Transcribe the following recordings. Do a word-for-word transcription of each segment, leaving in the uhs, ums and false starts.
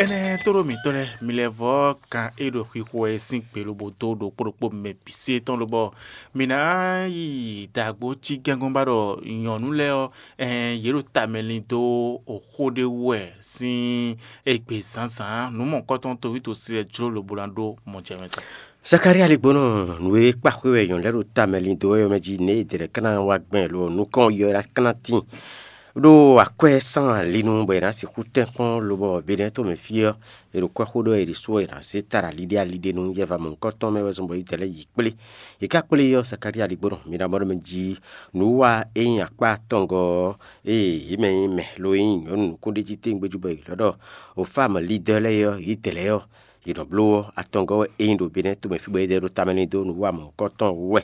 Énɛ́ tóɖó mǐtɔn lɛ́ɛ, mi lɛ́ vɔ́ kan e ɖo xixo wɛ é sín gbe lobo dó ɖokpó ɖokpó mɛ bǐ se tɔn lobɔ mi ná yi dǎgbó cí gɛ́ngɔ́n ba ɖɔ nyɔ̌nu lɛ́ɛ ɔ́, ɛn yě ɖo tamɛ lin dó xó ɖé wú wɛ sín égbé zǎnzǎn nǔ mɔ̌hunkɔtɔn toví tosi lɛ́ɛ jló lobo ná ɖó mɔjɛmɛ tɔn. Zakalía ligbónɔ, nǔ e kpa xwé wɛ nyɔ̌nu lɛ́ɛ ɖo tamɛ lin dó wɛ ɔ́ mɛ jí nɛ̌ è dlɛ̌ ká ná wá gbɛn lo nukɔn yɔ ná ká ná tíin ɖó akwɛ́ sán ali nu bɔ è nǎ sixú tɛ́nkpɔ́n lobɔ Benɛ́ɛ tomɛ fí ɔ́, è ɖo kwɛ́ xó ɖɔ è ɖě sú ɔ́, è nǎ zé ta ɖo ali ɖé ali ɖé nu. Yɛva mɔ̌hunkɔtɔn mɛ wɛ zɔ́n bɔ yí dɛ̌ lɛ́ɛ yi kplé. È ká kplé ɔ́, Zakalía ligbónɔ, mi ná mɔ ɖɔ mɛ jí nǔ wa e nyí akpá atɔngɔ́ ɔ́, ée yě mɛ nyí mɛ lo nyí nyɔ̌nu nukúnɖéjí téngbéjú bɔ è lɔ̌ ɖɔ Ofámu Lidɔ́ lɛ́ɛ ɔ́, yě dɛ̌ lɛ́ɛ ɔ́, yě nɔ bló ɔ́, atɔngɔ́ wɛ é nyí ɖo Benɛ́ɛ tomɛ fí bɔ é ɖo tamɛ lin dó nǔ wa mɔ̌hunkɔtɔn wú wɛ.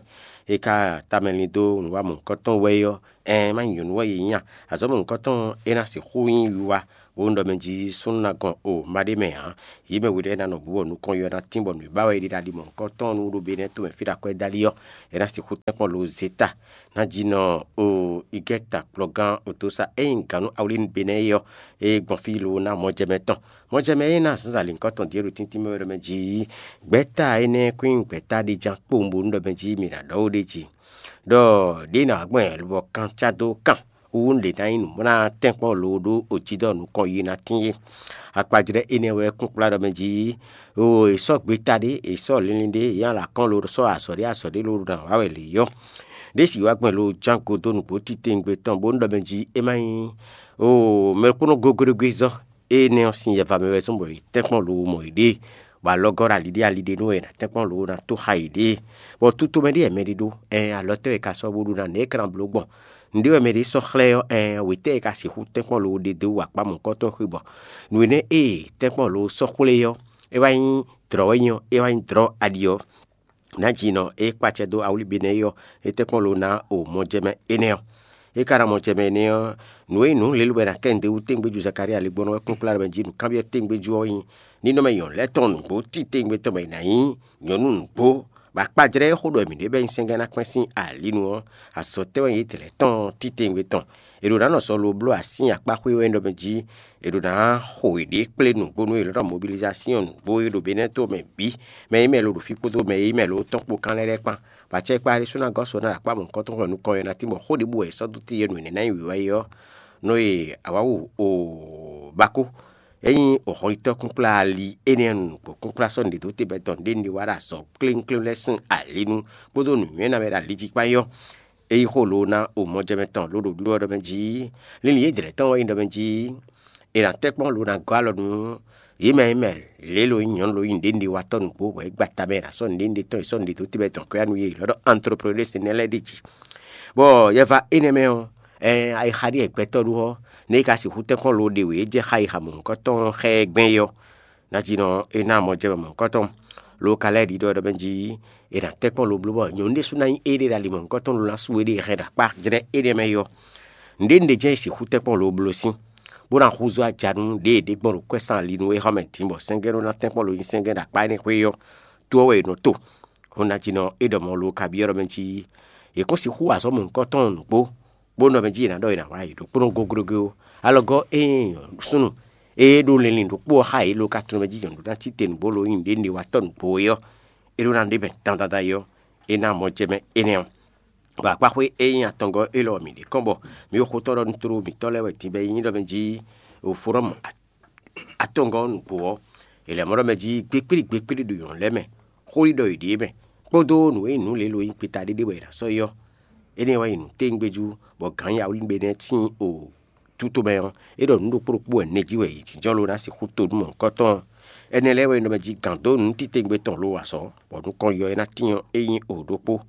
É ka tamɛ lin dó nǔ wa mɔ̌hunkɔtɔn wɛ é ɔ́, ɛɛn má nyí nyɔ̌nu wɛ yě nyí a? Azɔ̌ mɔ̌hunkɔtɔn ɔ́, é ná sixú nyí wiwa, bónú ɖɔ mɛ jí súnnu ná gɔn o ma ɖ'é mɛ ǎ. Yě mɛ we lɛ́ɛ ná nɔ bǔ bɔ nukɔn yɔ ná tín bɔ nǔ e ba wɛ è ɖe ɖo ali mɔ̌hunkɔtɔn nu ɖo Benɛ́ɛ tomɛ fí ɖo akwɛ́ dó ali ɔ́, é ná sixú tɛ́nkpɔ́n lo zeta. Ná jí nɔ o igɛ́ta kplɔ́gán otosa e nyí gǎn nú awlín Benɛ́ɛ é ɔ́, é gbɔn fí lo ná mɔjɛmɛ tɔn. Mɔjɛmɛ e ná zǎnzǎn lǐnkɔ́ tɔn ɖíe ɖo tíntín mɛ wɛ ɖɔ mɛ jí gbɛ̌ta énɛ́ kún nyí gbɛ̌ta ɖé ján kpowun bónú ɖɔ mɛ jí mǐ ná ɖɔ ó ɖ'é jí ɖɔ ɖěe ná wá gbɔn lobɔ kan cá dó kan wú lě ná nyí nǔmlá tɛ́nkpɔ́n lo ɖó ojídɔ́ nukɔn yi ná tín é. Akpajlɛ́ énɛ́ wɛ kún kplá ɖɔ mɛ jí o è sɔ́ gbeta ɖé, è sɔ́ linlin ɖé, è nyí alǎkɔ́n lo sɔ́ azɔ̌ ɖé azɔ̌ ɖé lo ɖo nǎ wa wɛ lě yɔ́. Ɖěsi wá gbɛn lo ján go dó nǔgbó titewungbe tɔn bónú ɖɔ mɛ jí é má nyí o mɛ ɖokpónɔ gogóɖégwé zɔ́. Énɛ́ ɔ́ sín yɛva mɛ wɛ zɔ́n bɔ è tɛ́nkpɔ́n lo mɔ yěɖée, bɔ alɔgɔ́ ɖo ali ɖé ali ɖé nú wɛ è nǎ tɛ́nkpɔ́n lo ná tó xá yěɖée. Bɔ tutomɛ ɖé wɛ mɛ ɖé ɖó, ɛn alɔ tɛ́ wɛ è ka sɔ́ bó ɖó ná nɛ̌ é ka ná bló gbɔn? Nǔɖé wɛ mɛ ɖé sɔ́ xlɛ́ ɔ́, ɛn wětɛ́ è ka sixú tɛ́nkpɔ́n lo ɖe dó wú akpá mɔ̌hunkɔtɔn xwé bɔ nǔ énɛ́ e tɛ́nkpɔ́n lo sɔ́ xwlé ɔ́, é wá nyí dlɔ̌ wɛ nyí ɔ́, é wá nyí dlɔ̌ aɖi ɔ́. Nǎjinɔ e kpacɛ dó awlíbe nɛ́ é ɔ́, é tɛ́nkpɔ́n lo ná o mɔjɛmɛ énɛ́ ɔ́. É ka ná mɔjɛmɛ énɛ́ ɔ́, nǔ e nyí nǔ lělú wɛ è nǎ kɛ nǔɖé wú téŋgbéjú Zakalía ligbɔ́nɔ wɛ kpɔ́n kplá ɖɔ mɛ jí nǔkanbyɔ́ téŋgbéjú ɔ́ nyí nínɔ́mɛ nyɔ̌nu lɛ́ɛ tɔn nǔgbó cí téŋgbe tɔn mɛ è nǎ nyí nyɔ̌nu nǔgbó, bɔ akpajlɛ́ e xó ɖɔ mǐ ɖe bɔ é nyí sɛ́ngɛ́ ná kpɛ́n sín alǐnu ɔ́, azɔ̌ tɛ́ wɛ nyí yě lɛ́ɛ tɔn titewungbe tɔn. È ɖǒ ná nɔ sɔ lo bló asín akpá xwé wɛ ɖɔ mɛ jí è ɖǒ ná xo yěɖée kplé nǔgbó nú è nɔ ɖɔ mobilizásyɔn nǔgbó e ɖo Benɛ́to mɛ bǐ, mɛ e mɛ lo ɖo fí kpódó mɛ e mɛ lo tɔn kpó kán lɛ́ɛ lɛ́ɛ kpán. Vǎ acɛ kpá ɖésú ná gɔ́ sɔ ná ɖo akpá mɔ̌hunkɔtɔn xɔ nukɔn ɔ́ ná tín bɔ xó ɖěbǔ wɛ è sɔ́ dó tíin e nǔ énɛ́ ná nyí wǐwá é ɔ́, nɔ e awǎwu o bákó. É nyí hɔnyitɔ́ kúnkplá ali énɛ́ nu nǔgbó kúnkplá sɔ́ nǔɖé dó te bɔ é dɔn nǔɖé nǔɖé wá ɖo azɔ̌ kléwúnkléwún lɛ́ɛ sín ali nu kpódó nǔnywɛ́ ná mɛ ɖo ali jí kpán é ɔ́, é yí xó lo ná o mɔjɛmɛ tɔn ló ɖo ɖiɖɔ ɖɔ mɛ jí. Linlin yědɛɛ tɔn wɛ nyí ɖɔ mɛ jí è nǎ tɛ́ kpɔ́n lo ná gɔ́ alɔ nú yě mɛ e mɛ lě lo nyí nyɔ̌nu lo nyí nǔɖé nǔɖé watɔ́ nǔgbó bɔ é gba ta mɛ è nǎ sɔ́ nǔɖé nǔɖé tɔn è sɔ́ nǔɖé dó te bɔ é dɔn kɔ́yá nú yě lɔ ɖɔ antropolési nɛ́ lɛ́ɛ ɖi jí. Bɔ yɛva énɛ́ mɛ ɔ́, ayixa ɖíe gbɛtɔ́ ɖó ɔ́, nú é ka sixú tɛ́nkpɔ́n lo ɖe wě é jɛ xayixa mɔ̌hunkɔtɔn xá ɛ gbɛn é ɔ́, Nǎjínɔ é ná mɔ jɛ mɛ mɔ̌hunkɔtɔn, lo ka lɛ́ ɖiɖɔ ɖɔ mɛ jí è nǎ tɛ́ kpɔ́n lo bló bɔ nyɔ̌nu ɖésú ná nyí éɖée ɖo ali mɔ̌hunkɔtɔn lo ná sú éɖée hɛn ɖo akpá jlɛ́ énɛ́ mɛ é ɔ́, nǔɖé nǔɖé jɛ́n è sixú tɛ́ kpɔ́n lo bló sín, bó ná húzú aja nú ɖěe è ɖe gbɔn ɖo kwɛ́ sín ali nú é xá mɛ din bɔ sɛ́ngɛ́ nɔ ná tɛ́ kpɔ́n lo nyí sɛ́ngɛ́ ɖo akpá énɛ́ xwé é ɔ́, tó ɔ́ wɛ è nɔ to. Hɔn nǎjínɔ é ɖɔ mɔ̌ lo ka byɔ́ ɖɔ mɛ jí è kɔn sixú wa azɔ̌ mɔ̌hunkɔtɔn nǔgbó bó nɔ mɛ jí è nǎ ɖɔ è nǎ wa yi ɖokpónɔ goglogo ó. Alɔgɔ́ ée nyí súnnu e ɖó linlin ɖokpó ɔ́ xá yě lo ka tlɔ́n mɛ jí nyɔ̌nu ná títenu bó lo nyí nǔɖé nǔɖé wa tɔ́ nǔgbó é ɔ́, é ɖó ná ɖe mɛ dandandan é ɔ́, é ná mɔ jɛ mɛ énɛ́ ɔ́. Bɔ akpáxwé e nyí atɔngɔ́ élɔ́ ɔ́, mǐ ɖe kɔn bɔ mǐ ɖo xó tɔn ɖɔ nú tlóló mǐtɔn lɛ́ɛ wɛ din bɔ é nyí ɖɔ mɛ jí Oflɔ́mu atɔngɔ́ ɔ́ nǔgbó ɔ́, è lɛ̌ mɔ ɖɔ mɛ jí gbékplí gbékplí ɖo nyɔ̌nu lɛ́ɛ mɛ, xó ɖiɖɔ yěɖée mɛ, kpódó nǔ e nyí nǔ lělo e nyí gbeta ɖé ɖé bɔ è nǎ sɔ́ yi ɔ́. Énɛ́ wɛ nyí nǔtɛ́ngbéjú, bɔ gǎn ya wlí gbe nɛ́ sín o tutomɛ ɔ́, é ɖɔ nǔ ɖokpó ɖokpó wɛ nɛjí wɛ yě jínjɔ́n lo ná sixú to nú mɔ̌hunkɔtɔn ɔ́. Énɛ́ lɛ́ɛ wɛ nyí ɖɔ mɛ jí gǎn dó nǔ titewungbe tɔn lo wa azɔ̌, bɔ nukɔn yɔ é ná tín ɔ́, é nyí o ɖokpó.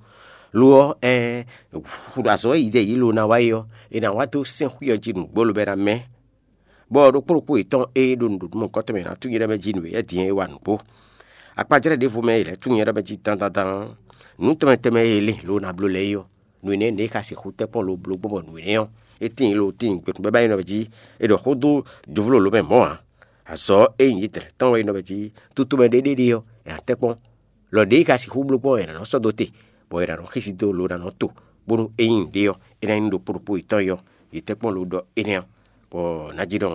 Lo ɔ́, ɛɛn, azɔ̌ e yě ɖɔ yě lo ná wa é ɔ́, è nǎ wá dó sɛ́n xwí ɔ́ jí nǔgbó lobo ná mɛ. Bɔ ɖokpó ɖokpó yětɔn e ɖo nǔɖuɖu mɔ̌hunkɔtɔn mɛ ná tunwun nyɛ ɖɔ mɛ jí nǔ e din é wa nǔgbó. Akpajlɛ́ ɖěvo mɛ e lɛ́ tunwun nyɛ ɖɔ mɛ jí dandan tɔn ɔ́, nǔ tɛnmɛ tɛnmɛ e è lin lo ná bló lɛ́ɛ é ɔ́, nǔ énɛ́ nɛ̌ é ka sixú tɛ́ kpɔ́n lo bló gbɔn bɔ nǔ énɛ́ ɔ́, é tíin lo tíin gbɛtɔ́ bɛ́ ba nyí nɔ jí è ɖɔ xó dó jovló lǒ mɛ mɔ̌ ǎ. Azɔ̌ e nyí yětɛn tɔn wɛ nyí nɔ jí tutomɛ ɖé ɖé ɖe ɔ́, è nǎ tɛ́ kpɔ́n. Lɔ ɖě é ka sixú bló gbɔn è nǎ nɔ sɔ́ dó te, bɔ è nǎ nɔ xísí dó lo ná nɔ to, bónú é nyí nǔɖé ɔ́, é ná nyí nǔ ɖokpó ɖokpó yětɔn é ɔ́, yě tɛ́ kpɔ́n lo ɖɔ énɛ́ ɔ́. Bɔ nǎ jí ɖɔ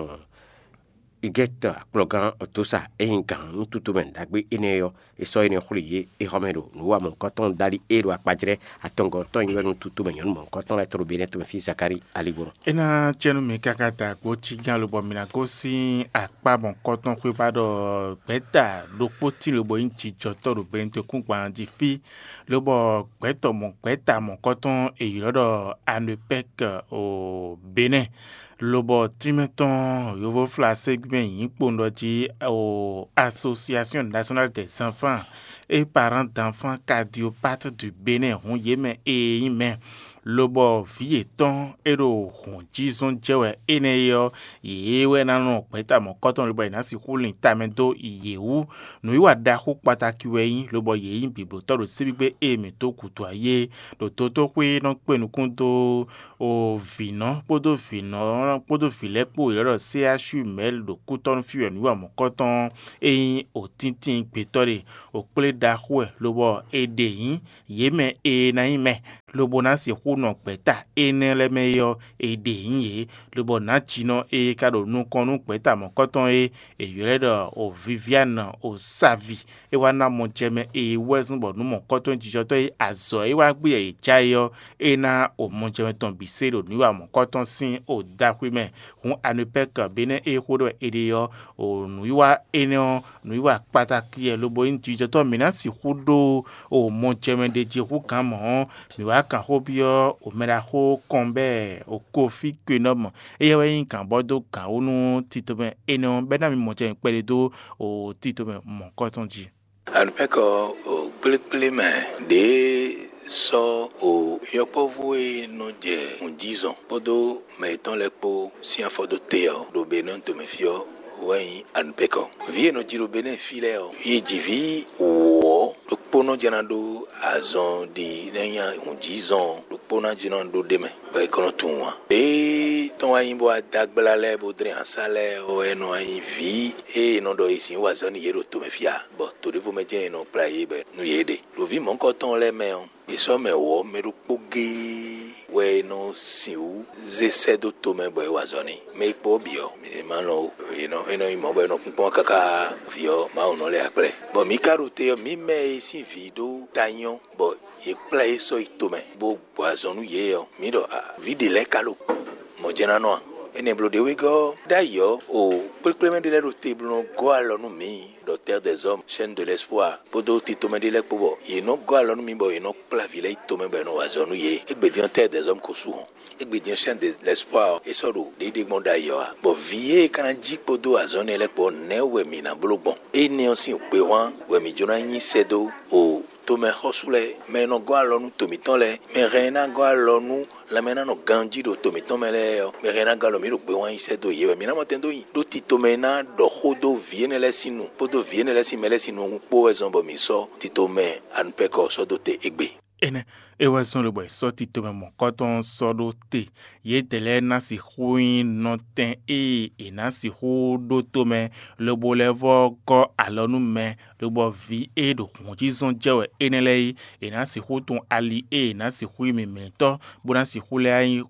Igɛ́tɔ akplɔ́gán Otosa e nyí gǎn nú tutomɛ ɖagbe énɛ́ ɔ́, è sɔ́ énɛ́ xwlé yě é xɔ mɛ ɖo nǔ wa mɔ̌hunkɔtɔn dali e ɖo akpajlɛ́ atɔngɔ́ tɔn nyi wɛ nú tutomɛ nyɔ̌nu mɔ̌hunkɔtɔn lɛ́ɛ tɔn ɖo Benɛ́ɛ tɔn mɛ fí Zakalíi ali bó nɔ. É ná cɛ́ nú mi káká da gbo cí gán lobɔ mi ná gosín akpá mɔ̌hunkɔtɔn xwé ba ɖɔ gbɛ̌ta ɖokpó tín lobo nyí jijɔtɔ́ ɖo Benɛ́ɛ tɔn kúngban jí fí, lobɔ gbɛ̌tɔ mɔ̌ gbɛ̌ta mɔ̌hunkɔtɔn è ylɔ́ ɖɔ Anopɛ́k o Benɛ́ɛ. Lobɔ tínmɛ tɔn yovóflásé gbɛ́ nyǐkpowun ɖɔ jí o Association Nationale des Enfants et Parents d'Enfants Cardiopathes du Bénin hun yě mɛ e nyí mɛ, lobɔ vǐ yětɔn e ɖo hǔn jí zɔn jɛ wɛ énɛ́ é ɔ́, yě wɛ ná nɔ gbɛ̌ta mɔ̌kɔtɔn lobɔ yě ná sixú lin tamɛ dó yě wú. Nǔwiwa ɖaxó kpatáki wɛ é nyí, lobɔ yě nyí bǐblótɔ́ ɖo síbígbé e mǐ dó gǔdo ayé ɖo dotóxwé nɔ kpé nukún dó o vǐnɔ kpódó vǐnɔ kpódó vǐ lɛ́ɛ kpó yě lɛ́ ɖɔ C H U mɛ̌l ɖo kútɔ́ nú fí wɛ nǔ wa mɔ̌kɔtɔn e nyí òtíntín gbětɔ́ ɖe. Òkplé ɖaxó wɛ lobɔ è ɖe nyǐ yě mɛ e ná nyí mɛ, lobo ná sixú nɔ gbɛ̌ta énɛ́ lɛ́ɛ mɛ é ɔ́, è ɖe nyǐ yě, lobɔ nǎjínɔ e ka ɖo nukɔn nú gbɛ̌ta mɔ̌kɔtɔn é, è ylɔ́ ɛ ɖɔ o Viviane o Savi. É wá ná mɔjɛmɛ e wɛ́zɔ́n bɔ nǔ mɔ̌kɔtɔn jijɔtɔ́ e azɔ̌ e wá gbé yɛ yě ja é ɔ́, é ná o mɔjɛmɛ tɔn bǐ se ɖo nǔwiwa mɔ̌kɔtɔn sín o daxwé mɛ. Hǔn Anopɛ́k Benɛ́ e xó ɖɔ è ɖe ɔ́, o nǔwiwa énɛ́ ɔ́, nǔwiwa kpatáki wɛ lobo nyí jijɔtɔ́ mǐ ná sixú ɖó o mɔjɛmɛ ɖé jí hú gǎn mɔ̌ ɔ́, mǐ wá kan xó byɔ́ o mɛɖaxó kɔn bɛ́ o Kofi Kwenɔ́mɔ. Éyɛ́ wɛ nyí gǎnbɔ́ dó gǎn wú nú tito mɛ énɛ́ ɔ́, bɔ é ná mi mɔjɛmɛ kpɛɖé dó o tito mɛ mɔ̌kɔtɔn jí. Alupɛ́kɔ o kplékplé mɛ ɖě sɔ́ o yɔkpɔ́vú e nɔ jɛ nǔjízɔn kpódó mɛ yětɔn lɛ́ɛ kpó sín afɔ dó te ɔ́ ɖo Benɔ́ tomɛ fí ɔ́ wɛ nyí Alupɛ́kɔ. Vǐ e nɔ ji ɖo Benɛ́ɛ fí lɛ́ɛ ɔ́, yě ji vǐ wǒ ɔ́, ɖokpónɔ jɛ́n ná ɖó azɔn ɖi nɛ́ nyí nǔjízɔn ɔ́, ɖokpónɔ jɛ́n ná ɖó ɖ'é mɛ, bɔ é kɔn nɔ tunwun ǎ. Lě tɔn wá nyí bó wá dó agbla lɛ́ɛ bó dlɛ́n asá lɛ́ɛ ɔ́, é nɔ wá nyí vǐ e è nɔ ɖɔ è sǐ wa azɔ̌ nú yě ɖo tomɛ fí ǎ, bɔ to ɖěvo mɛ jɛ́n è nɔ kplá yě bɔ nú yě ɖe. Ɖo vǐ mɔ̌hunkɔtɔn lɛ́ɛ mɛ ɔ́, è sɔ́ mɛ wǒ ɔ́, mɛ ɖokpó géé wɛ è nɔ sixú zé sɛ́ dó tomɛ bɔ è wa azɔ̌ n'i. Mɛ e kpo ɔ́ bǐ ɔ́, è ma lɔn ó. È nɔ é nɔ nyí mɔ̌ bɔ è nɔ kpínkpɔ́n káká vǐ ɔ́ Mawu nɔ lɛ́ akplɛ́. Bɔ mǐ ka ɖo te ɔ́, mǐ mɛ e sín vǐ ɖó ta nyɔ́ bɔ yě kplá yě sɔ́ yi tomɛ, bó gbɔ azɔn nú yě ɔ́, mǐ ɖɔ a vǐ ɖě lɛ́ɛ ka ɖo mɔ̌ jɛ́n ná nɔ a? Énɛ́ bló ɖě wegɔ́ ɔ́, ɖ'ayǐ ɔ́, o kplékplémɛ ɖé lɛ́ɛ ɖo te bó nɔ gɔ́ alɔ nú mǐ ɖɔ Terre des Hommes, Chaîne de l'Espoir, kpódó titomɛ ɖé lɛ́ɛ kpó bɔ yě nɔ gɔ́ alɔ nú mǐ bɔ yě nɔ kplá vǐ lɛ́ɛ yi tomɛ bɔ è nɔ wa azɔ̌ nú yě. Égbé din ɔ́, Terre des Hommes ko sú hɔn. Égbé din ɔ́, Chaîne de l'Espoir ɔ́, é sɔ́ ɖo ɖěɖé gbɔn ɖ'ayǐ ɔ́ ǎ, bɔ vǐ e é ka ná jí kpódó azɔ̌ énɛ́ lɛ́ɛ kpó ɔ́, nɛ̌ wɛ mǐ ná bló gbɔn? Énɛ́ ɔ́ sín gbéhwan wɛ mǐ jló ná nyi sɛ́ dó o tomɛ xɔ́sú lɛ́ɛ, mɛ e nɔ gɔ́ alɔ nú to mǐtɔn lɛ́ɛ, mɛ hɛn e ná gɔ́ alɔ nú lanmɛ e ná nɔ ganjí ɖo to mǐtɔn mɛ lɛ́ɛ ɔ́, mɛ hɛn e ná gɔ́ alɔ mǐ ɖo gbéhwan nyi sɛ́ dó yě wɛ. Mǐ ná mɔ tɛn dó nyi, ɖó titomɛ e ná ɖɔ xó dó vǐ énɛ́ lɛ́ɛ sín nu kpódó vǐ énɛ́ lɛ́ɛ sín mɛ lɛ́ɛ sín nu ɔ́ kpó wɛ zɔ́n bɔ mǐ sɔ́ titomɛ Anupɛ́kɔ ɔ́ sɔ́ dó te égbé. Énɛ́ é wɛ zɔ́n lobo è sɔ́ titomɛ mɔ̌kɔtɔn ɔ́ sɔ́ ɖó te. Yědɛɛ lɛ́ɛ ná sixú nyí nɔtɛn e è nǎ sixú ɖó tomɛ, lobo lɛ́ vɔ́ gɔ́ alɔ nú mɛ, lobɔ vǐ e ɖo hǔnjízɔ́n jɛ wɛ énɛ́ lɛ́ɛ é, è nǎ sixú tunwun ali e è nǎ sixú nyí mǐmlɛ́tɔ́, bó ná sixú lɛ́ nyí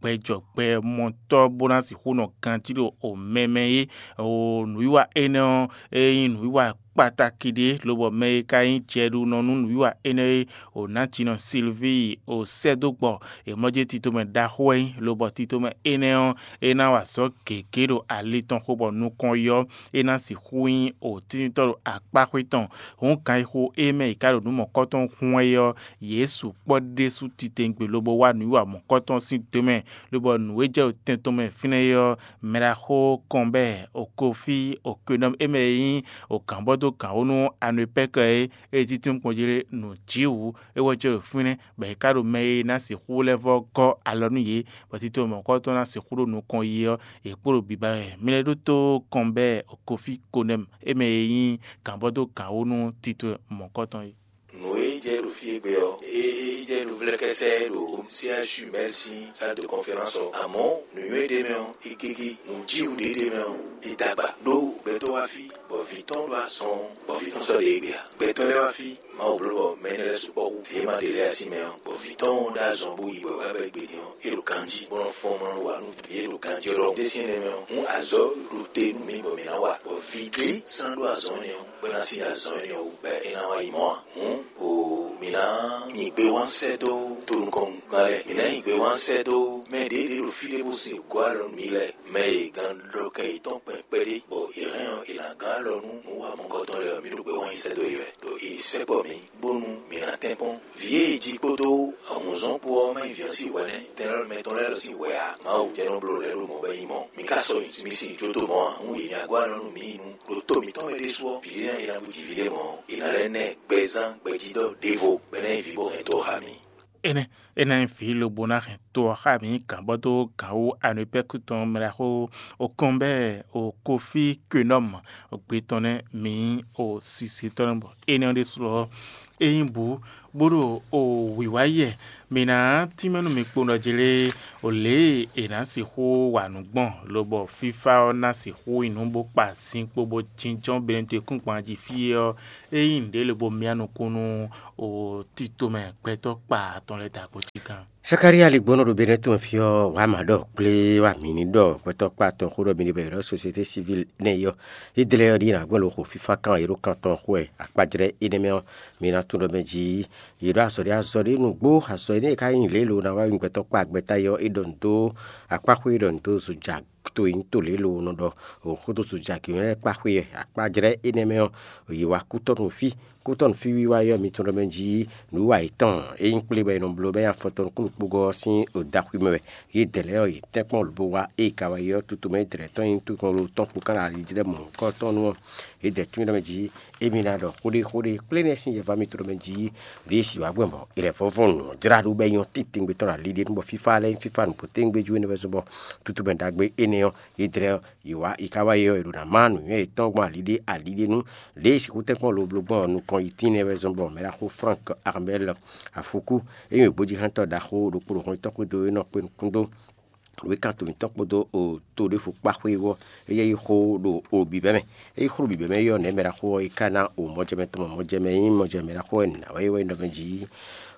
gbɛjɔgbɛmɔtɔ́, bó ná sixú nɔ ganjí ɖo mɛ mɛ é. O nǔwiwa énɛ́ ɔ́, é nyí nǔwiwa kpataki ɖé, lobɔ mɛ e ka nyí jɛɖunɔ nú nǔwiwa énɛ́ é, o nǎjínɔ Silvíi o sɛ́ dó gbɔ. È mlɔ́ jí titomɛ ɖaxó wɛ nyí, lobɔ titomɛ énɛ́ ɔ́, é ná wa azɔ̌ gěgé ɖo ali tɔn xo bɔ nukɔn yi ɔ́, é ná sixú nyí o tíntɔ́ ɖo akpáxwé tɔn. Hǔn ganxixo e mɛ è ka ɖo nǔ mɔ̌kɔtɔn hún wɛ é ɔ́, yě sukpɔ́ ɖésú titewungbe lobo wá nǔwiwa mɔ̌kɔtɔn sín do mɛ, lobɔ nǔ e jɛ ɖo tɛn tɔn mɛ fínɛ́ é ɔ́, mɛɖaxó kɔnbɛ́ Okofí Okenɔ́mu e mɛ e nyí o gǎnbɔ́ dó gǎnwó nú Anopɛ́kɔ é, e títí kpɔn jí lé nǔ jǐ wǔ, é wɛ jɛ ɖo fínɛ́, bɔ è ka ɖo mɛ e ná sixú lɛ́ vɔ́ gɔ́ alɔ nú yě, bɔ tito mɔ̌kɔtɔn ná sixú ɖo nukɔn yi ɔ́, yě kpo ɖo biba wɛ. Mi lɛ́ ɖótó kɔnbɛ́ Okofí Konɛmu e mɛ e nyí gǎnbɔ́ dó gǎnwó nú tito mɔ̌kɔtɔn é. Nǔ e jɛ ɖo fí égbé ɔ́, é jɛ ɖo vlɛ́kɛ́sɛ́ ɖo C H U Mɛ́l sín salle de conférence ɔ́. Amɔ̌ nǔnywɛ́ ɖé mɛ ɔ́, é gégé; nǔjíwǔ ɖé ɖé mɛ ɔ́, é dó agba. Ɖó gbɛtɔ́ wá fí, bɔ vǐ tɔn ɖo azɔn, bɔ vǐ tɔn sɔ́ ɖě égbé ǎ. Gbɛtɔ́ lɛ́ɛ wá fí, Mawu bló bɔ mɛ énɛ́ lɛ́ɛ sukpɔ́ hú vǐ e ma ɖe lɛ́ɛ ǎ sín mɛ ɔ́, bɔ vǐ tɔn ɔ́ ɖó azɔn bó yi bɔ é wá bɛ́ gbe din ɔ́, é ɖo ganjí, bó nɔ fɔ́n bó nɔ wa nú vǐ e ɖo ganjí ɔ́ ɖɔhun. Ɖésú énɛ́ mɛ ɔ́, hǔn azɔ̌ ɖo te nú mǐ bɔ mǐ ná Ɖiɖe sán ɖó azɔ̌ énɛ́ ɔ́, bɔ é ná sí azɔ̌ énɛ́ ɔ́ wú, bɔ é ná wá yi mɔ̌ ǎ. Hǔn, o mǐ ná nyi gbewán sɛ́ dó tonukɔngán lɛ́ɛ; mǐ ná nyi gbewán sɛ́ dó mɛ ɖě ɖě ɖo fí ɖé bó sin gɔ́ alɔ nú mǐ lɛ́ɛ, mɛ e gán ɖɔ kɛ yětɔn kpɛn kpɛɖé, bɔ è hɛn ɔ́, è nǎ gán alɔ nú nǔ wa mɔ̌kɔtɔn lɛ́ɛ ɔ́, mǐ ɖo gbewán nyi sɛ́ dó yě wɛ, ɖo è ní sɛkpɔ́ mǐ, bónú mǐ ná tɛ́nkpɔ́n. Vǐ e è ji kpódó ahunzɔ́n kpó ɔ́ má nyí vǐ ɔ́ sín hwɛ nɛ́; tɛn élɔ́ mɛ tɔn lɛ́ɛ lɔ sín hwɛ ǎ. Mawu jɛ́n nɔ bló lɛ̌ ɖo mɔ̌ bɛ nyí mɔ̌. Mi ka sɔ́ nyi mi sin jó dó mɔ̌ ǎ. Hǔn yě ní wá gɔ́ alɔ nú mǐ nu ɖo to mǐtɔn mɛ ɖésú ɔ́, vǐɖé ná yi ná bú jǐ vǐɖé mɔ̌. È nǎ lɛ́ ná ɛ gbɛzán gbɛjídɔ́ ɖěvo, bɔ é ná nyí vǐ bó hɛn dó xá mǐ. Énɛ́ é ná nyí vǐ lobo ná hɛn to ɔ́ xá mǐ gǎn bɔ dó gǎn wú anɔ̌pɛ́kú tɔn mɛ ɖaxó Okɔ́nbɛ́ɛ Okofí Kwennɔ́mu gbe tɔn nɛ́ mǐ nyí o sise tɔn nɛ́ bɔ énɛ́ ɔ́ ɖésú ɔ́, é nyí bǔ bó ɖo o wǐwá yɛ. Mǐ ná tínmɛ nú mi kpowun ɖɔ jlé o lě e è nǎ sixú wa nǔ gbɔn, lobɔ fífá ɔ́ ná sixú nyi nǔ bó kpa sin kpo bó jínjɔ́n Benɛtɔ́kúngban jí fí é ɔ́, é nyí nǔɖé lobo myá nukún nú o tito mɛ gbɛtɔ́ kpa atɔn lɛ́ɛ dǎkpó cí gán. Sakalíya ligbɔnɔ ɖo Benɛtɔn fí ɔ́, wǎ mǎ ɖɔ kplé wá mǐ ní ɖɔ gbɛtɔ́ kpa atɔn xó ɖɔ mi ní bɔ è ɖɔ sosiete sivil nɛ́ yɔ. Ídlɛ́ ɔ́ ɖíe nǎ gbɛ́ lo xo fífá kan e ɖo kan tɔn xo wɛ akpá jlɛ́ énɛ́ mɛ ɔ́, mi ná tunwun ɖɔ mɛ jí yě ɖo azɔ̌ ɖé azɔ̌ ɖé nǔgbó. Azɔ̌ énɛ́ e ka nyí lě e lo ná wá nyi gbɛtɔ́ kpa gbɛta yɔ é ɖɔ nǔ dó akpá xwé, é ɖɔ nǔ dó zoja to e nyí to lě e lo nɔ ɖɔ xódó zoja kǐ lɛ́ɛ kpá xwé akpá jlɛ́ énɛ́ mɛ ɔ́, yě wá kútɔ́ nú fí. Kútɔ́ nú fí wiwa yɔ mitɔn ɖɔ mɛ jí nǔwiwa yětɔn e nyí kplé bɔ è nɔ bló bɔ é nyí afɔtɔn nukúnnukpógɔ́ ɔ́ sín dǎxwí mɛ wɛ. Yědɛɛ lɛ́ɛ ɔ́, yě tɛ́nkpɔ́n lobo wá ée ka wá yi ɔ́, tutu mɛ yědɛɛ tɔn nyí tukɔn lo tɔn kpó ká ná ali jí lɛ́ɛ mɔ̌hunkɔtɔn nu ɔ́, yědɛɛ tún ɖɔ mɛ jí émí ná ɖɔ xóɖéxóɖé kplé nɛ́ sín yɛva mitɔn ɖɔ mɛ jí ɖě si wǎ gbɔn bɔ è lɛ̌ vɔ́ vɔ́ nǔ ɔ́ jlá ɖó bɔ é nyɔ́ titewungbe tɔn ɖo ali ɖé nu bɔ fífá lɛ́ɛ nyí fífá nǔgbó tɛ́ngbéjú énɛ́ wɛ zɔ́n bɔ tutu mɛ ɖagbe énɛ́ ɔ́, yědɛɛ ɔ́, yě wá yě ká wá yi ɔ́, è ɖo ná má nǔnywɛ́ yětɔn gbɔn ali ɖé ali ɖé nu. Lě e è sixú tɛ́nkpɔ́n lobló gbɔn nukɔn yi tínɛ́ wɛ zɔ́n bɔ mɛɖaxó Frank Armel Afuku, e nyí gbojixlɛ́ntɔ́ ɖaxó ɖokpó ɖo hɔn tɔn xwedó é nɔ kpé nukún dó nǔwékantɔ́ mǐtɔn kpódó to ɖěvo kpá xwé ɔ́, é yɛ yi xó ɖo o bǐbɛ́ mɛ. É yi xó ɖo bǐbɛ́ mɛ yi ɔ́, nɛ̌ mɛɖaxó ɔ́ yi ka ná o mɔjɛmɛ tɔn mɔ mɔjɛmɛ nyí mɔjɛmɛ ɖaxó wɛ nǎ wɛ é wɛ nɔ mɛ jí.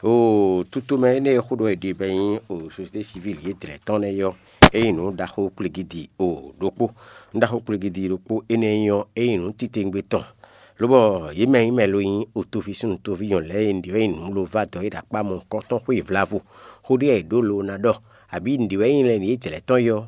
O tutomɛ énɛ́ e xó ɖɔ è ɖe bɔ é nyí o sosiyete sivil yědɛɛ tɔn nɛ́ yi ɔ́, é nyí nǔ ɖaxó kplígídi o ɖokpó. Nǔ ɖaxó kplígídi ɖokpó énɛ́ nyí ɔ́, é nyí nǔ titewungbe tɔn. Lobɔ yě mɛ nyí mɛ lo nyí otoví súnnu toví nyɔ̌nu lɛ́ɛ e nǔɖé wɛ nyí nǔ lo vá dɔ̌ é ɖo akpá mɔ̌hunkɔtɔn xwé vla vo. Xó ɖé wɛ è ɖǒ lo ná ɖɔ, abǐ nǔɖé wɛ nyí lɛ́ɛ nǔ yědɛɛ tɔn yi ɔ́,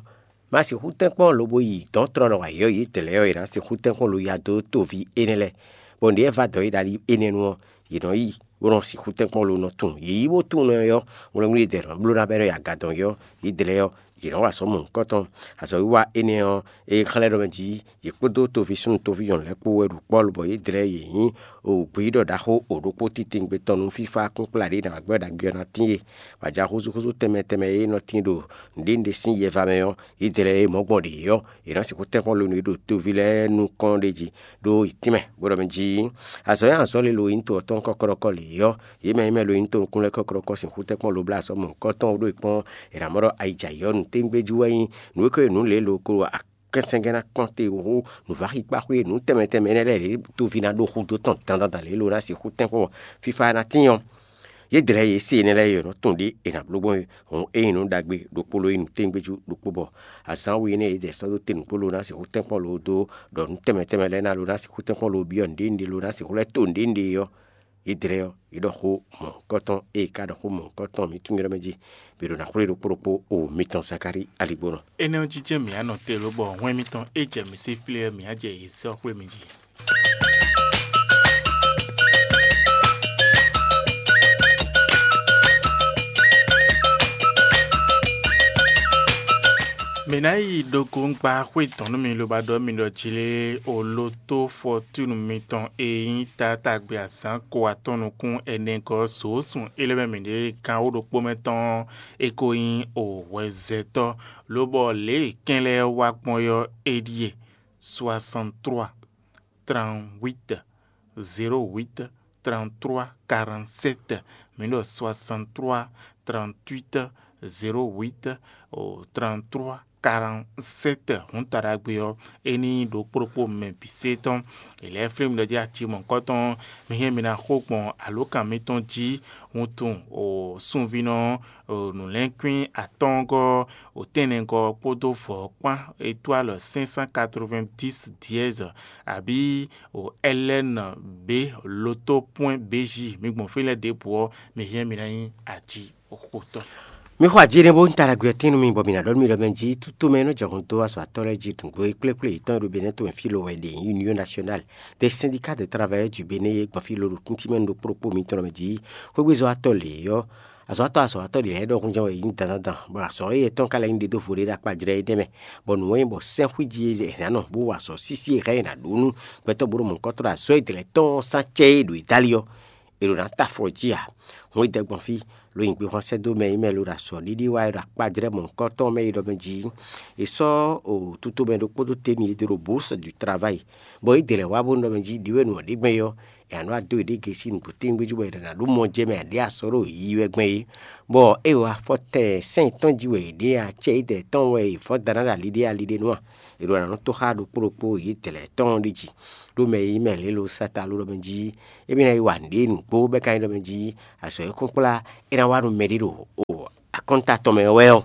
ma sixú tɛ́nkpɔ́n lobo yi dɔ̌n tlɔ́ ɖɔ wǎ yɔ́ yědɛɛ ɔ́, è nǎ sixú tɛ́nkpɔ́n lo ya dó toví énɛ́ lɛ́ɛ, bɔ nǔɖé e vá dɔ̌ é ɖo ali énɛ́ nu ɔ́, yě nɔ yi bó nɔ sixú tɛ́nkpɔ́n lo nɔ tunwun. Yě yi bó tunwun nɔ ɔ́, wlɛ́ngbí ɖě nɔ bló ná bɔ é nɔ yi aga dɔn ɔ́, yědɛɛ ɔ́, yě nɔ wa azɔ̌ mɔ̌hunkɔtɔn. Azɔ̌wiwa énɛ́ ɔ́, e xlɛ́ ɖɔ mɛ jí yě kpódó toví súnnu toví nyɔ̌nu lɛ́ɛ kpó wɛ ɖo kpɔ́ lobɔ yědɛɛ yě nyí gbeyíɖɔ ɖaxó o ɖokpó titewungbe tɔn nú fífá kúnkplá ɖě nǎ gbɛ́ ɖagbe ɔ́ ná tíin e. Bɔ ajǎ húzúhúzú tɛnmɛ tɛnmɛ e nɔ tíin ɖo nǔɖé nǔɖé sín yɛva mɛ ɔ́, yědɛɛ e mɔ̌ gbɔn ɖě ɔ́, yě nɔ sixú tɛ́nkpɔ́n lo nú yě ɖo toví lɛ́ɛ nukɔn ɖé jí ɖó yi tínmɛ, bó ɖɔ mɛ jí azɔ̌ e azɔ̌ lilo e nyí to ɔ́ tɔn kɔ́kɔ́ɖɔkɔ́ lě ɔ́, yě mɛ e mɛ lo nyí to nukún lɛ́ɛ kɔ́kɔ́ɖɔkɔ́ sixú tɛ́nkpɔ́n lo blá azɔ̌ mɔ̌hunkɔtɔn ɖó yi kpɔ́n è nǎ mɔ ɖɔ ayǐjayǐ ɔ́, nǔtɛ́ngbéjú wɛ nyí nǔ e ko nyí nǔ lě lo ko ɖo kɛnsɛngɛ́ ná kpɔ́n te hú nǔváxi kpáxwé nǔ tɛnmɛ tɛnmɛ énɛ́ lɛ́ɛ lě toví ná ɖó xúdó tɔn dandan lě lo ná sixú tɛ́nkpɔ́n fífá ná tín ɔ́. Yědɛɛ e se énɛ́ lɛ́ɛ yě nɔ tunwun ɖě è nǎ bló gbɔn é. Hǔn é nyí nǔ ɖagbe ɖokpó lo nyí nǔtɛngbéjú ɖokpó bɔ azǎn we énɛ́ yědɛɛ sɔ́ dó te nǔgbó lo ná sixú tɛ́nkpɔ́n lo dó ɖɔ nǔ tɛnmɛ tɛnmɛ lɛ́ɛ ná lo ná sixú tɛ́nkpɔ́n lo byɔ́ nǔɖé nǔɖé lo ná sixú lɛ́ to nǔɖé nǔɖé ɔ́, yědɛɛ ɔ́, yě ɖɔ xó mɔ̌hunkɔtɔn, ée ka ɖɔ xó mɔ̌hunkɔtɔn mǐ tunwun mɛ jí, mǐ ɖo ná xwlé ɖokpó ɖokpó o mitɔn Zakalíi aligbónɔ. Énɛ́ ɔ́ jí jɛ́n mǐ ya nɔ te lobɔ hwɛ́n mitɔn é jɛ mǐ sí flé ɔ́, mǐ á jɛ yě sɛ́ ɔ́ xwlé mi jí. Mǐ ná yi ɖokóŋkpa xwé tɔn nú mi lobo ɖɔ mi ɖɔ jlé oloto fɔtúnu mitɔn e nyí taátagbe azǎn ko atɔn nukún ɛnɛgɔ́ zǒsún é lɛ́ mɛ mǐ ɖe gán wó ɖokpó mɛ tɔn ɔ́, é ko nyí o hwɛzɛtɔ́, lobɔ lě e kɛn lɛ́ɛ wá gbɔn ɔ́ é ɖíe: soixante-trois, trente-huit, zéro huit, trente-trois, quarante-sept. Mǐ ɖɔ soixante-trois, trente-huit, zéro huit trente-trois quarante-sept. Hǔn taɖagbe ɔ́, é ní ɖo kplɔ́kpó mɛ bǐ sé tɔn. È lɛ́ flín mi ɖɔ jí aci mɔ̌hunkɔtɔn, mi hɛn mi ná xo gbɔn alǒkan mitɔn jí. Wuntun o sunvínɔ o nǔlɛ́nkwín atɔ́ɔ́ngɔ́ o tɛ́nnɛgɔ́ kpódó vɔ̌ kpán étoile cinq cent quatre-vingt-dix dièse, abǐ o L N B loto point B J. Mi gbɔn fí lɛ́ɛ ɖěbǔ ɔ́, mi hɛn mi ná nyí aci xotɔ́. Mi xɔ ajé nɛ́ bó un ta ɖagbe ɔ́ tɛ́n nú mi, bɔ mi ná ɖɔ nú mi ɖɔ mɛ jí tútomɛ e nɔ jɛ hun dó azɔ̌ atɔ́ lɛ́ɛ jí nǔgbó e kplé kplé yětɔn e ɖo Benɛ́ tomɛ fí lo wɛ ɖe nyí Union Nationale des syndicats de travailleurs du Bénin é gbɔn fí lo ɖo kúntímɛ ɖokpó ɖokpó mitɔn mɛ jí. Xwégbézɔ́watɔ́ lě ɔ́, azɔ̌watɔ́ azɔ̌watɔ́ lě lɛ́ɛ ɖɔhun jɛ́n wɛ è nyí dandan dan, bɔ azɔ̌ éyɛ́ tɔn ka lɛ́ nyí ɖědóvo ɖé ɖo akpajlɛ́ é ɖɛ́ mɛ, bɔ nǔ e nyí bɔ sɛ́nxwíjí e è nǎ nɔ bó wa azɔ̌ sísí e hɛn è nǎ ɖó nú gbɛtɔ́ bó ɖo mɔ̌hunkɔtɔn ɖo azɔ̌ e dlɛ̌ tɔn ɔ́ sán cɛ é ɖo Itáli ɔ́, è ɖo ná ta afɔ jí ǎ. Hǔn é dɛ gbɔn fí, lo nyi gbexwan sɛ́ dó mɛ e mɛ lo ɖo azɔ̌ ɖiɖi wá e ɖo akpajlɛ́ mɔ̌hunkɔtɔn mɛ é ɖɔ mɛ jí. È sɔ́ o tutomɛ ɖokpó dó te nú yě dó ɖo bourse du travail, bɔ yě dɛ lɛ́ wá bónú ɖɔ mɛ jí ɖǐwɛ́nú ɔ́ ɖe gbɛn é ɔ́, è nǎ nɔ wá dó yěɖée gěsi nǔgbó tɛ́ngbé jí bɔ è nǎ ɖó mɔ jɛ mɛ aɖě asɔ́ ɖo yiyi wɛ gbɛn é. Bɔ é wa afɔtɛn sɛ́n yětɔn jí wɛ yě ɖe acɛ yědɛɛ tɔn wɛ è vɔ́ da ná ɖo ali ɖé ali ɖé nu a? È ɖo ná nɔ tó xá ɖokpó ɖokpó yě dɛ lɛ́ɛ tɔn ɖi jí. Ɖó mɛ e nyí mɛ lě lo sata lo ɖɔ mɛ jí, émí ná yi wa nǔɖé nǔgbó bɔ é ka nyí ɖɔ mɛ jí azɔ̌ e kún kplá é ná wá nú mɛɖé ɖo o akɔ́nta tɔn mɛ wɛ ɔ́,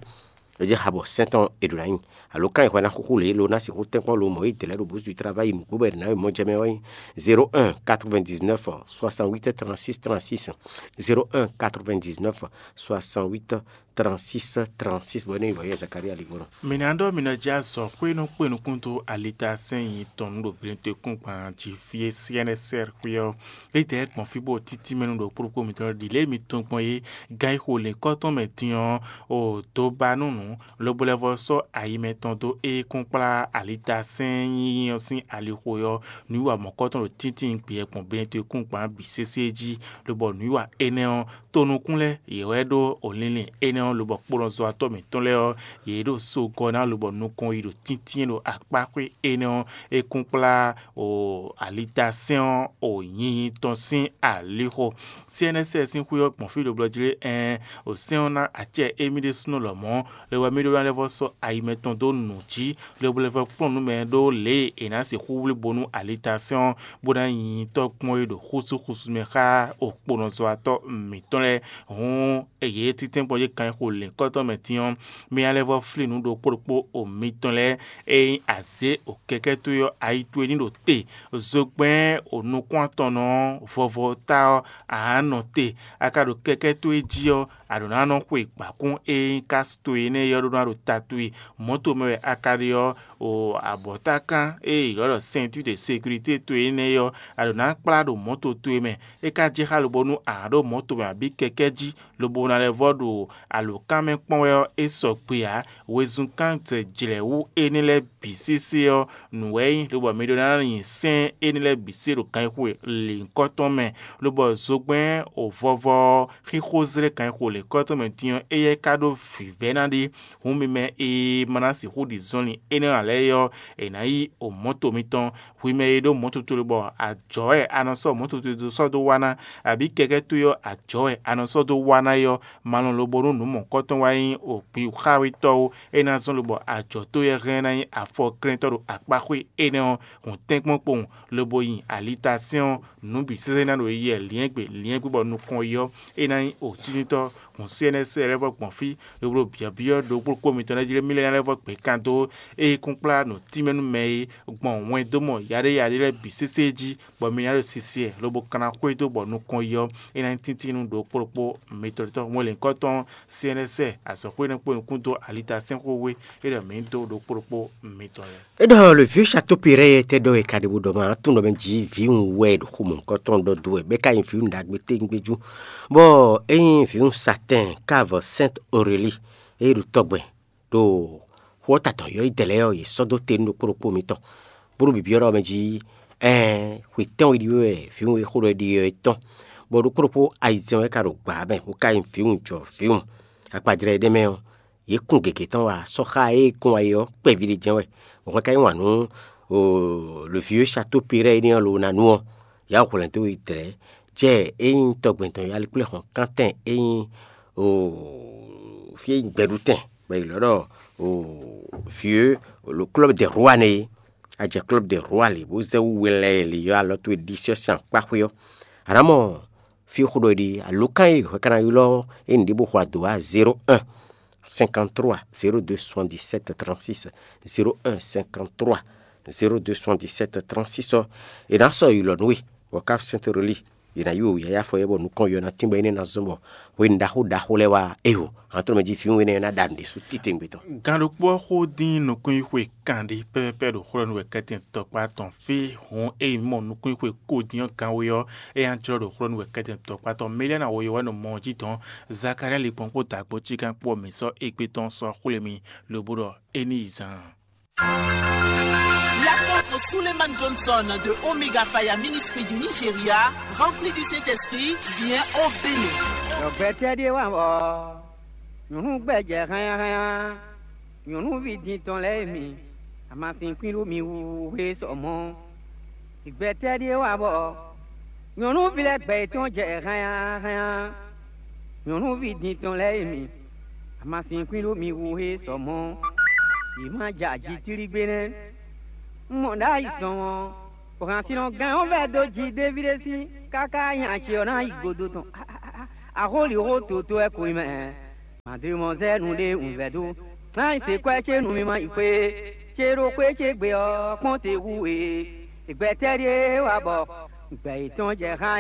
é jɛ xa bɔ sɛ́n tɔn è ɖǒ ná nyi. Alo kan e hwɛ ná xúxú lě lo ná sixú tɛ́nkpɔ́n lo mɔ̌ e dlɛ̌ ɖo bǔzu travayi nǔgbó bɔ è ɖǒ ná yi mɔ̌ jɛ mɛ ɔ́ nyí zéro un quatre-vingt-dix-neuf soixante-huit trente-six trente-six, zéro un quatre-vingt-dix-neuf soixante-huit trente-six trente-six, bɔ é nɔ nyí vɔ̌ yɛ Zakaria Ligbɔnɔ. Mǐ ná ɖɔ mǐ nɔ jɛ azɔ̌ xwé nú kpe nukún dó alita sɛ́n nyi tɔn nú ɖo Glɛtɔ́kúngban jí fí e C N S R xwé ɔ́. Étɛ́ gbɔn fí bó títí mɛ nú ɖo kplɔ́kpó mitɔn ɖi lě e mi tunwun gbɔn é, gan e xo lěkɔ́ tɔn mɛ din ɔ́, o dó ba nú nǔ, lobo lɛ́ vɔ́ sɔ́ ayi mɛtɔn dó é kún kplá alita sɛ́n nyínyí ɔ́ sín alixo ɔ́, nǔwiwa mɔ̌kɔ́tɔn ɖo tíntín gbeyɛ́ gbɔn Glɛtɔ́kúngban bǐ sésé jí, lobɔ nǔwiwa énɛ́ ɔ́, tonukún lɛ́ɛ yě wɛ ɖó o linlin énɛ́ ɔ́, lobɔ kplɔ́nzɔ́watɔ́ mǐtɔn lɛ́ɛ ɔ́, yě ɖo sogɔ́ ná lobɔ nukɔn yi ɖo tíntín ɖo akpáxwé énɛ́ ɔ́, é kún kplá o alita sɛ́n ɔ́ o nyinyi tɔn sín alixo. C N S S sín xwé ɔ́ gbɔn fí ɖo blɔ́ jí lé ɛn o sɛ́n ɔ́ ná acɛ émí ɖésúnɔ lɔmɔ̌, lobɔ mí ɖó ná lɛ́ vɔ́ sɔ́ ayi mɛtɔn dó nǔ jí, lobo lɛ́ vɔ́ kplɔ́n nǔ mɛ ɖó lě e è nǎ sixú wlí bónú alita sɛ́n ɔ́ bó ná nyi tɔ́ kpɔ́n é ɖo xúsúxúsú mɛ xá okponɔzɔ́watɔ́ mǐtɔn lɛ́ɛ. Hǔn yě títɛ́nkpɔ́n yě kan e xo lěkɔ́tɔn mɛ din ɔ́, mì ná lɛ́ vɔ́ flín nǔ ɖokpó ɖokpó o mitɔn lɛ́ɛ e nyí azě o kɛkɛ́ towe ɔ́, ayi towe ní ɖo te. Zogbɛ́n o nukún atɔn nɔ ɔ́, vɔvɔ ta ɔ́, a nǎ nɔ te. A ka ɖo kɛkɛ́ towe jí ɔ́, a ɖǒ ná nɔ xwe gbǎkún e nyí kási towe énɛ́ é ɔ́ ɖó ná ɖo ta towe. Mɔ̌to mɛ wɛ a ka ɖe ɔ́, o abɔ̌takán e è ylɔ́ ɖɔ ceinture de sécurité towe énɛ́ é ɔ́, a ɖǒ ná kplá ɖo mɔ̌to towe mɛ. É ka jɛ xá lobonu a nǎ ɖo mɔ̌to mɛ abǐ kɛkɛ́ jí, lobo ná lɛ́ vɔ́ ɖo alǒkan mɛ kpɔ́n wɛ ɔ́, é sɔgbe ǎ. Wezun kán zɛ jlɛ̌ wú énɛ́ lɛ́ɛ bǐ sésé ɔ́, nǔ wɛ é nyí, lobɔ mi ɖó ná nyi sɛ́n énɛ́ lɛ́ɛ bǐ se ɖo ganxixo lěhunkɔtɔn mɛ, lobɔ zogbɛ́n o vɔvɔ ɔ́, xixo zlɛ́ ganxixo lěhunkɔtɔn mɛ din ɔ́, éyɛ́ ka ɖó vǐvɛ́ ná ɖe. Hǔn mi mɛ e ma ná sixú ɖi zɔnlin énɛ́ ǎ lɛ́ɛ é ɔ́, è nǎ yí o mɔ̌to mitɔn. Hwi mɛ e ɖó mɔ̌to towe bɔ ajɔ̌ wɛ a nɔ sɔ́ mɔ̌to towe dó sɔ́ dó wá ná, abǐ kɛkɛ́ towe ɔ́, ajɔ̌ wɛ a nɔ sɔ́ dó wá ná é ɔ́, ma lɔn lobo nú nǔ mɔ̌kɔ́tɔn wá nyí o xawetɔ́ ó. É ná zɔ́n lobɔ ajɔ̌ towe ɔ́ hɛn ná nyí afɔklɛ́ntɔ́ ɖo akpáxwé énɛ́ ɔ́, hǔn tɛ́nkpɔ́n kpowun, lobo nyi alitasɛ́n ɔ́, nǔ bǐ sésé ná ɖo yɛ lyɛ̌ngbe lyɛ̌ngbe bɔ nukɔn yi ɔ́, é ná nyí o tíntɔ́. Hǔn C N S lɛ́ vɔ gbɔn fí, lobo ɖo byɔ̌byɔ́ ɖokpó kpó mitɔn lɛ́ɛ jí lé mí lɛ́ ná lɛ́ vɔ gbě kan dó ée kún kplá nǔ tínmɛ nú mɛ é gbɔn wɛn dó mɔ yaɖéyaɖé lɛ́ɛ bǐ sésé jí, bɔ mi ná ɖo sisi ɛ lobo kan ná xwedó bɔ nukɔn yi ɔ́, é ná nyí tíntín nú ɖokpó ɖokpó mitɔn tɔn. Hwɛnlǐnkɔ́ tɔn C N S azɔ̌xwé nɔ kpó nukún dó alitasɛ́nxwé é ɖɔ mǐ dó ɖokpó ɖokpó mitɔn lɛ́ɛ. É ɖɔ le vieux Chateau Perret tɛ ɖɔ è ka ɖe bó ɖɔ ma tún ɖɔ mɛ jí vǐwun wɛ ɖo xomɔ̌kɔtɔn ɖɔ dó wɛ bɔ é ka nyí vǐwun ɖagbe téŋgbéjú, bɔ é nyí vǐwun Satɛn káva Sainte Aurélie é ɖo tɔgbɛn ɖo xó ɔ́ ta tɔn yɔ́yídɛɛ lɛ́ɛ ɔ́, yě sɔ́ dó te nú ɖokpó ɖokpó mitɔn, bó ɖo byɔ̌byɔ́ ɖɔ mɛ jí, ɛɛn, xwe tɛ́nwe ɖi wɛ vǐwun e xó ɖɔ é ɖi ɔ́ é tɔn, bɔ ɖokpó ɖokpó ayizɛ́n wɛ ka ɖo gbǎ mɛ, bó ka nyí vǐwun jɔ vǐwun. Akpajlɛ́ énɛ́ mɛ ɔ́, yě kun gěgé tɔn wá sɔ́ xá e kún wá é ɔ́ kpɛví ɖé jɛ́n wɛ. Bɔ hwɛ ka yi wǎn nú le vieux Chateau Perret énɛ́ ɔ́ lo ná nu ɔ́, yǎ hwlɛ̌n dó yi dlɛ̌, jɛ é nyí tɔgbɛn tɔn yalíkplɛ́hɔn kántɛn é nyí fí e nyí gbɛɖutɛn bɔ è ylɔ́ ɖɔ vieux le club des rois nɛ́ é. A jɛ club des rois lě bó zɛ wú we lɛ́ɛ lě ylɔ́ alɔ towe ɖisí ɔ́ sín akpáxwé ɔ́. A nǎ mɔ fí xó ɖɔ è ɖe alǒkan e hwɛ ka ná ylɔ́ é nǔɖé bó xo adǒ wá zéro un cinquante-trois zéro deux soixante-dix-sept trente-six, zéro un cinquante-trois zéro deux soixante-dix-sept trente-six ɔ́, è nǎ sɔ́ ylɔ̌ nú we, bɔ Cap Sainte Reli è nǎ yi wěwé yáyá afɔ yɛ bɔ nukɔn yɔ ná tínbɔ énɛ́ ná zɔ́n bɔ hwenu ɖaxó ɖaxó lɛ́ɛ wá ého. Hǎn tɔn mɛ jí fínwú énɛ́ ná ɖa nǔ ɖésú titewungbe tɔn. Gǎn ɖokpó ɔ́ xó dín nukúnxwixwe kanɖé pɛ́pɛ́pɛ́ ɖo xwlɔ́ nú wɛ kɛ́tɛn tɔkpá tɔn fí. Hǔn ényí mɔ nukúnxwixwe ko dín ɔ́ gǎnwe ɔ́, é ná jlɔ́ ɖo xwlɔ́ nú wɛ kɛ́tɛn tɔkpá tɔn Meliana woyovɛ́nu mɔ ɔ́ jí dɔn. Zakalía likpɔ́n kpó dǎgbó cíkan kpó ɔ́ mǐ sɔ́ égbé tɔn sɔ́ xwlé mì, lobo ɖɔ é ní yi zaan. L'apôtre Suleiman Johnson de Omega Fire Ministry du Nigeria, rempli du Saint-Esprit, vient au Bénin. Ɖɔ gbɛtɛ́ ɖíe wá bɔ nyɔ̌nu gbɛjɛ hánnyáhánnyá, nyɔ̌nuví din tɔn lɛ́ɛ mi, amasin kwín ɖó mi wú hwe sɔ mɔ̌. Gbɛtɛ́ ɖíe wá bɔ nyɔ̌nuví lɛ́ɛ gbɛ yětɔn jɛ hánnyáhánnyá, nyɔ̌nuví din tɔn lɛ́ɛ mi, amasin kwín ɖó mi wú hwe sɔ mɔ̌. Yě má ja jǐ tlígbé nɛ́. Un mɔ ɖ'ayǐ sɔn ɔ́, bɔ hansinɔ gán ɔ́ vɛ́ dó ji Davídi sín káká nya ce ɔ́ ná yi godo tɔn. Axólǐxó toto wɛ ko nyí mɛ. Mǎdrimɔzɛ́nu ɖé un vɛ́ dó. Ná yi se kwɛ́ ce nú mi ma yi xwé, ce ɖo xwé ce gbe ɔ́ kpɔ́n te hú e. Gbɛtɛ́ ɖíe wá bɔ gbɛ yětɔn jɛ xá